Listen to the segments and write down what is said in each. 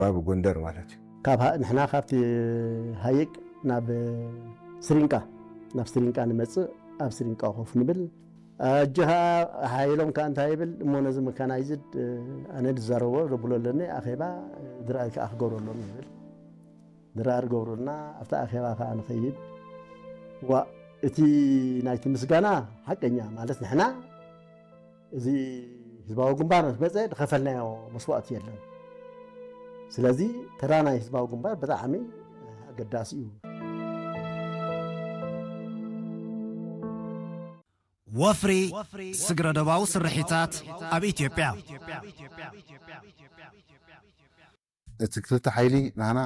ባብ ጎንደር ማለት እዩ። ካብ ሃ- ንሕና ካብቲ ሃይቅ ናብ ስሪንቃ፣ ናብ ስሪንቃ ንመጽእ፣ ኣብ ስሪንቃ ኮፍ ንብል። ኣጆኻ ሓይሎም ከኣ እንታይ ይብል እሞ፣ ነዚ መካናይዝድ ኣነ ዝዛረቦ ዘብሎ ኣለኒ፣ ኣኼባ ድራር ከኣ ክገብረሎም ይብል። ድራር ገብሩልና፣ ኣብቲ ኣኼባ ከኣ ንኸይድ። ዋ፣ እቲ ናይቲ ምስጋና ሓቀኛ ማለት ንሕና እዚ ህዝባዊ ግንባር ምስ መጸ ዝኸፈልናዮ መስዋእቲ የለን። ስለዚ ተራ ናይ ህዝባዊ ግንባር ብጣዕሚ ኣገዳሲ እዩ። ወፍሪ ስግረዶባዊ ስርሒታት ኣብ ኢትዮጵያ። እቲ ክልተ ሓይሊ ናህና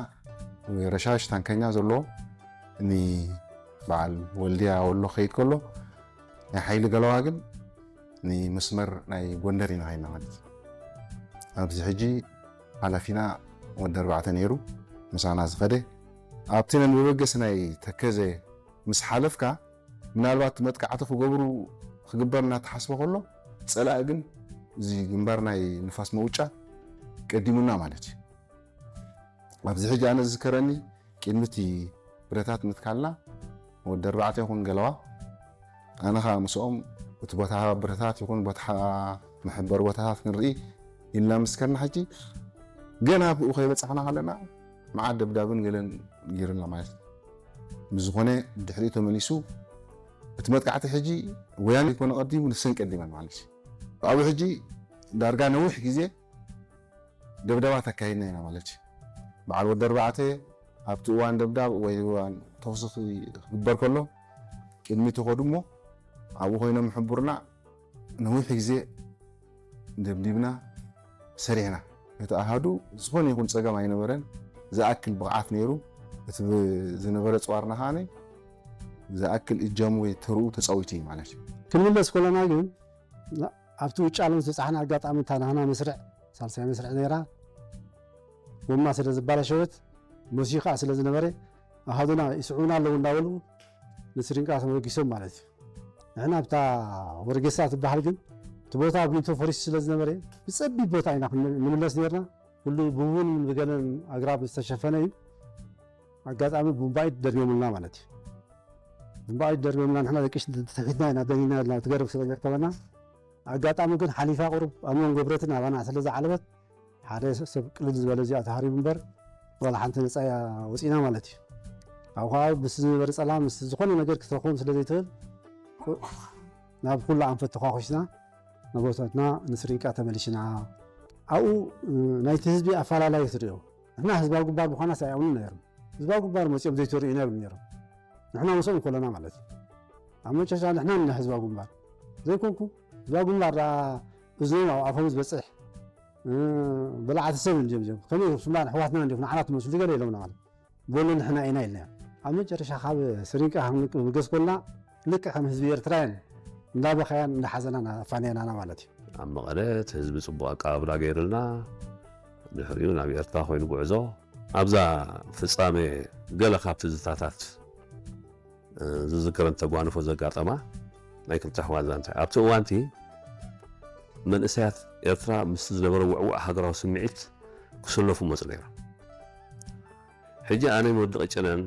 ረሻሽ ታንከኛ ዘለዎ ንበዓል ወልድያ ወሎ ከይድ ከሎ ናይ ሓይሊ ገለዋ ግን ንመስመር ናይ ጎንደር ኢና ኸይና ማለት እዩ። ኣብዚ ሕጂ ሓላፊና ወዲ ኣርባዕተ ነይሩ ምሳና ዝኸደ ኣብቲ ነንበበገስ ናይ ተከዘ ምስ ሓለፍካ ምናልባት መጥቃዕቲ ክገብሩ ክግበር እናተሓስበ ከሎ ፀላኢ ግን እዚ ግንባር ናይ ንፋስ መውጫ ቀዲሙና ማለት እዩ። ኣብዚ ሕጂ ኣነ ዝዝከረኒ ቅድሚ እቲ ብረታት ምትካልና ወዲ ኣርባዕተ ይኹን ገለዋ ኣነ ከዓ ምስኦም እቲ ቦታ ብረታት ይኹን ቦታ መሐበሪ ቦታታት ክንርኢ ኢልና ምስ ከድና ሕጂ ገና ብኡ ከይበፃሕና ከለና መዓት ደብዳብን ገለን ገይሩና ማለት እዩ። ብዝኾነ ድሕሪኡ ተመሊሱ እቲ መጥቃዕቲ ሕጂ ወያነ ይኮነ ቀዲሙ ንሰን ቀዲመን ማለት እዩ። ኣብኡ ሕጂ ዳርጋ ነዊሕ ግዜ ደብዳባት ኣካይድና ኢና ማለት እዩ። በዓል ወዲ ኣርባዕተ ኣብቲ እዋን ደብዳብ ወይ እዋን ተኹሲ ክግበር ከሎ ቅድሚ ተኸዱ እሞ ኣብኡ ኮይኖም ይሕብሩና። ነዊሕ ግዜ ደብዲብና ሰሪሕና። እቲ ኣሃዱ ዝኾነ ይኹን ፀገም ኣይነበረን። ዝኣክል ብቕዓት ነይሩ። እቲ ዝነበረ ፅዋርና ከዓ ዝኣክል እጃሙ ወይ ተርኡ ተፃዊቱ እዩ ማለት እዩ። ክንምለስ ከለና ግን ኣብቲ ውጫሌ ምስ በፃሕና ኣጋጣሚ እታ ናህና መስርዕ ሳልሳይ መስርዕ ነይራ ጎማ ስለ ዝባላሸወት መሲዩ ከዓ ስለ ዝነበረ ኣሃዱና ይስዕቡና ኣለዉ እንዳበሉ ንስሪንቃ ተመጊሶም ማለት እዩ። ንሕና ኣብታ ወርጌሳ ትበሃል ግን እቲ ቦታ ኣብ ሊንቶ ፈሪሱ ስለ ዝነበረ ብፀቢብ ቦታ ኢና ክንምለስ ነርና። ኩሉ ብቡን ብገለን ኣግራብ ዝተሸፈነ እዩ። ኣጋጣሚ ቡምባይት ደርብዮምልና ማለት እዩ። ቡምባይት ደርብዮምልና ንሕና ደቂ ተፊትና ኢና ደኒና ኢልና ትገርብ ስለ ዘርከበና ኣጋጣሚ ግን ሓሊፋ ቁሩብ ኣብ መንጎ ብረትን ኣባና ስለ ዝዓለበት ሓደ ሰብ ቅልል ዝበለ እዚኣ ተሃሪቡ እምበር ዋላ ሓንቲ ነፃ እያ ወፂና ማለት እዩ። ኣብ ከባቢ ምስ ዝነበረ ፀላም ምስ ዝኾነ ነገር ክትረኽቦም ስለ ዘይትኽእል ናብ ኩሉ ኣንፈት ተኳኩስና ንቦታትና ንስሪንቃ ተመሊስና። ኣብኡ ናይቲ ህዝቢ ኣፈላላይ ክትሪኦ ንሕና ህዝባዊ ግንባር ምዃናስ ኣይኣምኑን ነይሮም። ህዝባዊ ግንባር መፂኦም ዘይተርእዩና ይብሉ ነይሮም። ንሕና ምስኦም ከለና ማለት እዩ። ኣብ መጨረሻ ንሕና ንና ህዝባዊ ግንባር ዘይኮንኩ ህዝባዊ ግንባር ደኣ እዝኖም ኣብ ኣፎም ዝበፅሕ በላዕቲ ሰብ እንዲዮም እዚኦም ከመይ ስምና ኣሕዋትና እንዲኹም ንዓና ትመስሉ ገለ ኢሎምና ማለት በሉ ንሕና ኢና ኢልና። ኣብ መጨረሻ ካብ ስሪንቃ ንብገስ ኮልና ልክዕ ከም ህዝቢ ኤርትራውያን እንዳበኸያን እንዳሓዘናን ኣፋንያናና ማለት እዩ። ኣብ መቐለ እቲ ህዝቢ ፅቡቕ ኣቀባብላ ገይሩልና ድሕሪኡ ናብ ኤርትራ ኮይኑ ጉዕዞ ኣብዛ ፍፃሜ ገለ ካብ ትዝታታት ዝዝከረን ተጓንፎ ዘጋጠማ ናይ ክልተ ኣሕዋት ዛንታ ኣብቲ እዋንቲ መንእሰያት ኤርትራ ምስቲ ዝነበረ ውዕውዕ ሃገራዊ ስምዒት ክስለፉ መፁ ነይሮም። ሕጂ ኣነን ወዲ ቅጭነን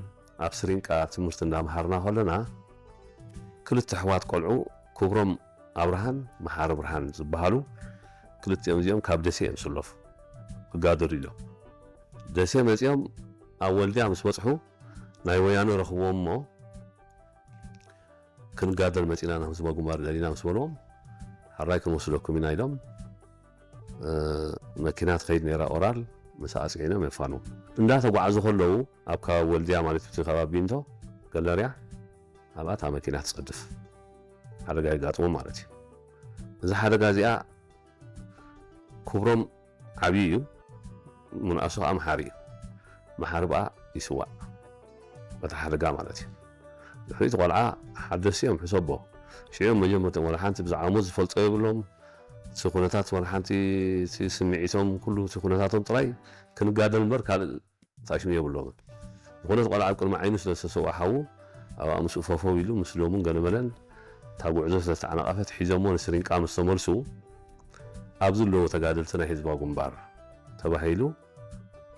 ኣብ ስሪንቃ ትምህርቲ እንዳምሃርና ከለና ክልተ ኣሕዋት ቆልዑ ክብሮም ኣብርሃን መሓሪ ብርሃን ዝበሃሉ ክልቲኦም እዚኦም ካብ ደሴ እዮም ዝስለፉ ክጋደሉ ኢሎም ደሴ መፂኦም ኣብ ወልድያ ምስ በፅሑ ናይ ወያነ ረኽብዎም እሞ ክንጋደል መፂና ናብ ህዝባዊ ግንባር ደሊና ምስ በልዎም ሕራይ ክንወስደኩም ኢና ኢሎም መኪና ትኸይድ ነይራ ኦራል ምስ ኣፅዒኖም የፋኑ እንዳተጓዓዙ ከለዉ ኣብ ከባቢ ወልድያ ማለት እቲ ከባቢ ቢንቶ ገለርያ ኣብኣ እታ መኪና ትፀድፍ ሓደጋ የጋጥሞም ማለት እዩ። እዛ ሓደጋ እዚኣ ክብሮም ዓብዪ እዩ፣ ምንኣሱ ከዓ መሓሪ እዩ። መሓሪ ብኣ ይስዋእ በታ ሓደጋ ማለት እዩ። ድሕሪቲ ቆልዓ ሓደስቲ እዮም ሕሰቦ ሽዑ መጀመርቶም ወላ ሓንቲ ብዛዕባ ሞት ዝፈልጦ የብሎም። እቲ ኩነታት ወላ ሓንቲ ስምዒቶም ኩሉ እቲ ኩነታቶም ጥራይ ክንጋደል እምበር ካልእ ተኣሽሙ የብሎምን። ዝኾነ እቲ ቆልዓ ኣብ ቅድሚ ዓይኑ ስለ ዝተሰውኣ ሓዉ ኣብኣ ምስኡ ፈፈው ኢሉ ምስ ሎሙን ገለመለን እታ ጉዕዞ ስለ ዝተዓናቐፈት ሒዞሞ ንስሪንቃ ምስ ተመልሱ ኣብዚ ኣለዉ ተጋደልቲ ናይ ህዝባዊ ግንባር ተባሂሉ